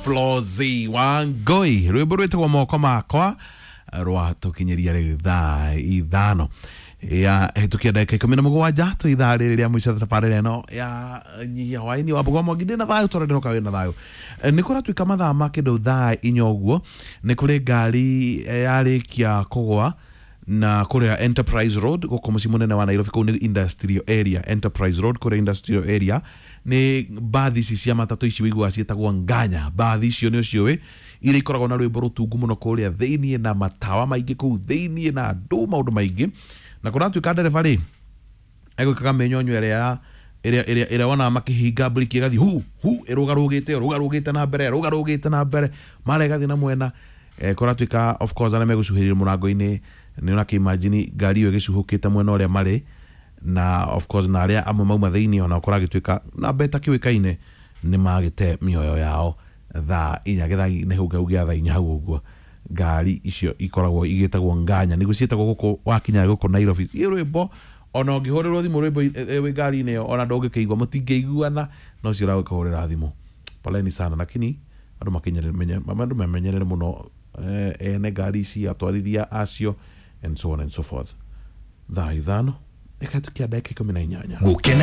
Flozi Wangui rwimbo rwitagwo Moko Makwa rwatũkinyĩria rĩu thaa 5 ya hĩtũkia ndagĩka 17 tũ ithaa rĩrĩ rĩa mũico thabarĩra ĩno ya nyihia hwaĩ-inĩ wa Mbũgwa Mwangi. Ndĩ na thayũ tondũ ndĩroka wĩ na thayũ. Nĩ kũratuĩka mathaa ma kĩndũ thaa 4 ũguo nĩ kũrĩ ngari yarĩkia kũgwa na kũrĩa Enterprise Road gũkũ mũciĩ mũnene wa Nairobi. Kũu nĩ industrial area, Enterprise Road kũrĩa industrial area. Nĩ mbathi ici cia matatũ ici wĩiguaga ciĩtagwo nganya. Mbathi icio nĩ ũciũĩ iria ikoragwo na rwĩmbo rũtungu mũno kũrĩa thĩiniĩ na matawa maingĩ kũu thĩiniĩ na andũ maũndũ maingĩ. Na kũratuĩka ndereba rĩ egwĩkaga mĩnyonyo ĩrĩa ĩrĩa ĩrĩa ĩrĩa wonaga makĩhinga mburiki ĩgathiĩ hu hu ĩrũgarũgĩte ĩrũgarũgĩte na mbere ĩrũgarũgĩte na mbere mara ĩgathiĩ na mwena. Kũratuĩka of course arĩa megũcuhĩrĩria mũrango-inĩ nĩ ũrakĩimagine ngari ĩyo ĩgĩcuhũkĩte mwena ũrĩa marĩ na of course na arĩa amwe mauma thĩiniĩ ona kũragĩtuĩka namba ĩtakĩũĩkaine nĩ magĩte mĩoyo yao thaa 4 gĩthagi-inĩ hau hau gĩa thaa 4 hau ũguo. Ngari icio ikoragwo igĩtagwo nganya nĩguo ciĩtagwo gũkũ wakinya gũkũ Nairobi. Ciĩ rwĩmbo ona ũngĩhũrĩrwo thimũ rwĩmbo wĩ ngari-inĩ ĩyo ona ndũngĩkĩigua mũtingĩiguana no ũcio ũragũkĩhũrĩra thimũ. Poleni sana, lakini andũ makinyere andũ memenyerere mũno, ene ngari ici, atwarithia acio and so on and so forth. Thaa 5 ĩkahĩtũkia ndagĩka 18. Gukena.